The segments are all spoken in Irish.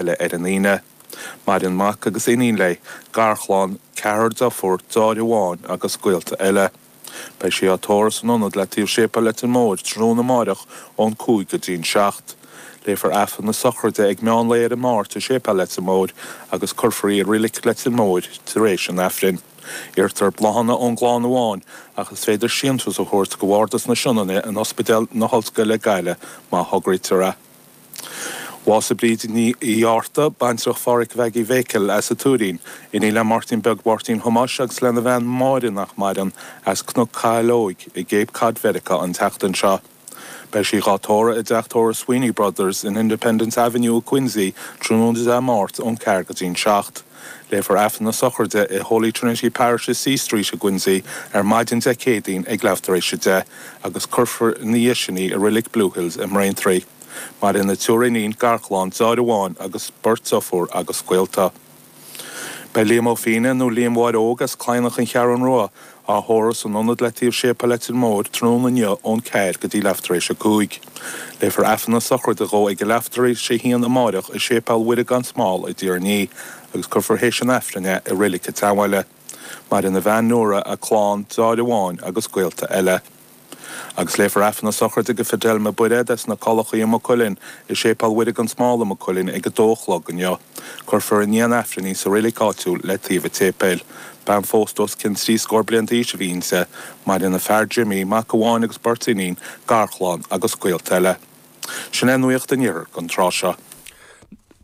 Eile ar an Aoine. Maireann mac agus iníon léi, garchlann, ceathrar deirfiúr, deartháir amháin agus gaolta eile. Beidh sí á tórramh san ionad le taobh Séipéal Leitir Móir tráthnóna amáireach ón 5 go dtí'n 7. Léifear Aifreann na sochraide ag meán lae ar an Máirt i Séipéal Leitir Móir agus cuirfear í i Reilig Leitir Móir tar éis an Aifrinn. Iarrtar bláthanna ón gclann amháin ach is féidir síntiús a thabhairt go Bhardas na Sionainne in Ospidéal na hOllscoile Gaillimh má thograítear é. Bhásaigh Bríd Ní Fhátharta, baintreach Phádhraic Mhaggie Mhéicil as an Tuairín, iníon le Máirtín Beag Mháirtín Thomáis agus lena bhean Máire nach maireann, as Cnoc Caileoig i gCape Cod Mheiriceá an tseachtain seo. Beidh sí dhá tórramh i dteach tórraimh Sweeney Brothers in Independence Avenue i Quincy tráthnóna Dé Máirt ón ceathair go dtí'n 7. Léifear Aifreann na sochraide i Holy Trinity Parish i Sea Street i gQuincy ar maidin Dé Céadaoin ag leath tar éis 10 agus cuirfear ina dhiaidh sin í i Reilig Blue Hills i mBraintree. Maireann a triúr iníon, garchlann, deartháir amháin agus beirt deirfiúr agus gaolta. Beidh Liam Ó Fianna, nó Liam Mháire Óg as Cladhnach an Cheathrún Rua, á thórramh san ionad le taobh Séipéal Leitir Móir tráthnóna inniu ón ceathair go dtí leath tar éis a cúig. Léifear Aifreann na sochraide dhó ag a leath tar éis a haon amáireach i Séipéal Mhuire gan Smál i dTír an Fhia agus cuirfear théis an Aifrinn é i Reilig an tSeanbhaile. Maireann a bhean Nóra, a clann, deartháir amháin agus gaolta eile. Agus léifear Aifreann na sochraide do Fidelma Bairéad as na Collachaí i Maigh Cuilinn i Séipéal Mhuire gan Smál i Maigh Cuilinn ag a dó a chlog inniu. Cuirfear i ndiaidh an Aifrinn í sa reilig áitiúil le taobh an tséipéil. Bean phósta os cionn trí scór bliain d'aois a bhí inti. Maireann a fear Jimmy, mac amháin agus beirt iníon, garchlann agus gaolta eile. Sin é nuacht an Iarthair don tráth seo.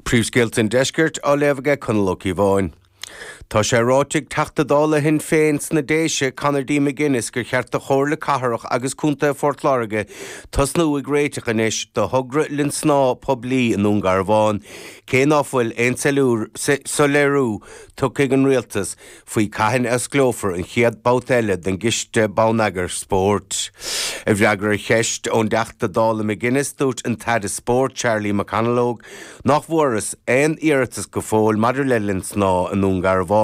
Príomhscéalta an Deiscirt á léamh aige Conall Ó Cíobháin. Tá sé ráite ag Teachta Dála Shinn Féin sna Déise, Conor D. McGuinness, gur cheart do Chomhairle Cathrach agus Contae Phort Láirge tosnú ag réiteach anois do thogra linn snámha poiblí i nDún Garbhán, cé ná fuil aon soiléiriú tugtha ag an Rialtas faoi cathain a osclófar an chéad babhta eile den gCiste Bonneagair Spóirt. I bhfreagra ar cheist ón dTeachta Dála McGuinness, dúirt an tAire Spóirt, Charlie McConalogue, nach bhfuarthas aon iarratas go fóill maidir le linn snámha i nDún Garbhán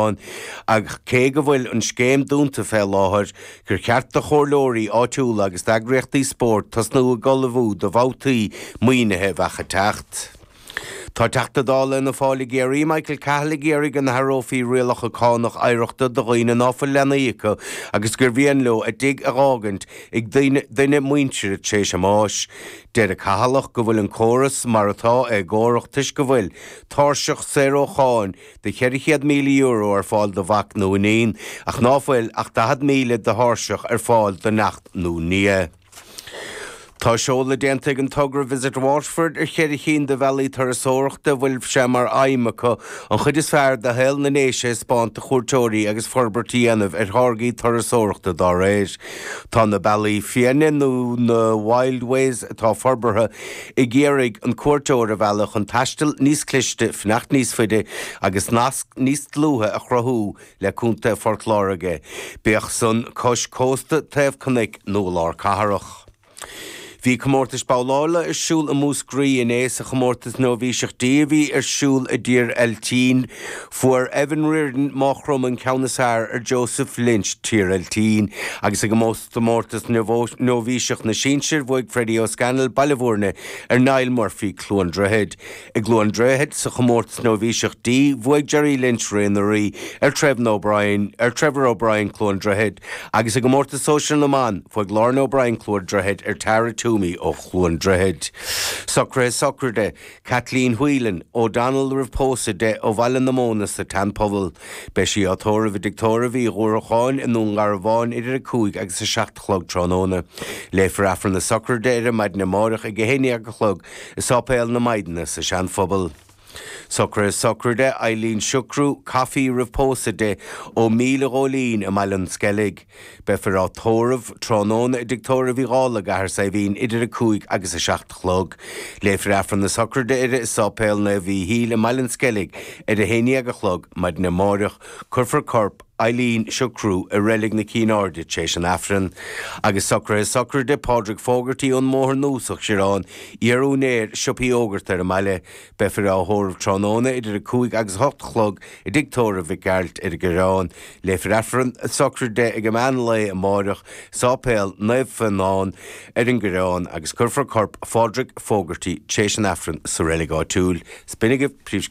ach cé go bhfuil an scéim dúnta fé láthair, gur cheart do chomhairleoirí áitiúla agus d'eagraíochtaí spóirt tosnú ag ullmhú do bhabhtaí maoinithe a bheadh ag teacht. Tá Teachta Dála Fhianna Fáil i gCiarraí, Michael Cahill ag iarraidh go n-athrófaí rialacha cánach oidhreachta do dhaoine ná fuil leanaí acu agus gur mhian leo a dtigh a dh'fhágaint ag duine muintire tar éis a mbáis. Deir an Cathalach go bhfuil an córas mar atá éagórach toisc go bhfuil tairseach saor ó cháin de €400,000 ar fáil do mhac nó iníon ach ná fuil ach 40,000 de thairseach ar fáil do neacht nó nia. Tá seoladh déanta ag an togra Visit Waterford ar cheithre chinn de bhealaí turasóireachta a bhfuil sé mar aidhm acu an chuid is fearr de shaol na nDéise a thaispeáint do chuairteoirí agus forbairt a dhéanamh ar tháirgí turasóireachta dá réir. Tá na bealaí fiáine nó na Wildways atá forbartha ag iarraidh an cuairteoir a mhealladh chun taisteal níos cliste, fanacht níos faide agus nasc níos dlúithe a chruthú le Contae Phort Láirge, bíodh san cois cósta, taobh cnoic nó i lár cathrach. Bhí comórtais babhlála ar siúl i Múscraí inné sa chomórtas Nóibhíseach D a bhí ar siúl i dTír Eiltín. Fuair Evan Riordan, Maigh Chromtha an ceann is fearr ar Joseph Lynch, Tír Eiltín. Agus i gcomórtas Nóibhíseach na Sinsear bhuaigh Freddie O'Scannell, Baile Bhúirne, ar Niall Murphy, Cluain Droichid. I gCluain Droichid sa chomórtas Nóibhíseach D bhuaigh Jerry Lynch, Ré na Rí, ar Trevor O'Brien, ar Trevor O'Brien, Cluain Droichid, agus i gcomórtas Sóisir na mBan bhuaigh Lauren O'Brien, Cluain Droichid, ar Tara Toomey ó Chluain Droichid. Socruithe sochraide, Kathleen Whelan, O'Donnell roimh pósadh di, ó Bhaile na Móna sa tSeanphobal. Beidh sí á tórramh i dTigh Tórraimh Uí Dhúracháin i nDún Garbhán idir 5 agus 7 a chlog tráthnóna. Léifear Aifreann na sochraide uirthi maidin amáireach ag 11 a chlog i Sáipéal na Maighdine sa Seanphobal. Socruithe sochraide, Eileen Siochrú, Coffey roimh pósadh di, ó Míle Ghóilín i mBaile an Sceilg. Beifear á tórramh tráthnóna i dTigh Tórraimh Uí Dhálaigh, Cathair Saidhbhín, idir 5 agus 7 a chlog. Léifear Aifreann na sochraide uirthi i Sáipéal Naomh Mhíchíl i mBaile an Sceilg ar a haon dhéag a chlog maidin amáireach. Cuirfear corp. Eileen socrú i Reilig na Cinn Airde tar éis an Aifrinn. Agus socruithe sochraide Pádraig Fogarty ón mBóthar Nua sa Choireán, iar-úinéir siopaí iógart ar an mbaile. Beifear á thórramh tráthnóna idir 5 agus 8 a chlog i dTigh Tórraimh Mhic Gearailt ar an gCoireán. Léifear Aifreann a sochraide ag an meán lae amáireach i Sáipéal Naomh Fionán ar an gCoireán agus cuirfear corp Phádraig Fogarty tar éis an Aifrinn sa reilig áitiúil. Is b'in agaibh príomhscéalta.